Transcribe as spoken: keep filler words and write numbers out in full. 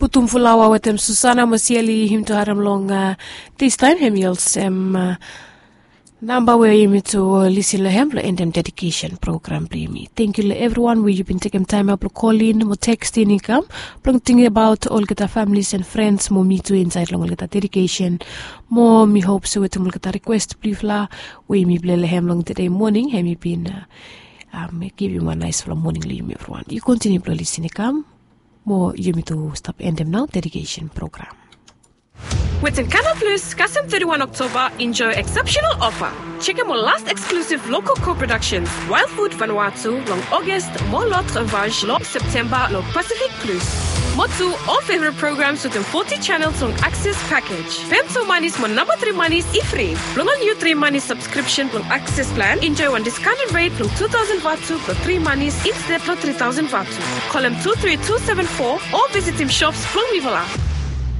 Tutum fulawa wetem Susana mo Sieli, yumi tu harem long distaem, hemi olsem namba we yumi tu lisin long hem blong endem dedikesen program blong yumi. Tangkiu long evriwan we yu bin tekem taem ya blong kolin mo tekstin i kam blong tingabaot olgeta familis and frens mo mi tu insaed long olgeta dedikesen. Mo mi hop se wetem olgeta rikwes blong yufala we yumi plei long hem long tede moning, hemi bin givim wan naesfala moning long yumi evriwan. Yu kontiniu blong lisin i kam mo yumi tu stap endem nao dedikesen program. Wetem Canal Plus, kasem teti wan Oktoba, enjoy exceptional offer. Jekem ol last exclusive local co-productions, Wild Food Vanuatu long August, mo L'Autre Vache long September long Pacific Plus. Mo tu ol favorite programs wetem forty channels long Access package. Fem tu manis mo namba tri manis i fri. Blong ol niu tri manis subscription blong Access plan, enjoy wan discounted rate blong two thousand vatu blong tri manis instead blong three thousand vatu. Kolem two three two seven four o visitim shops blong mifala.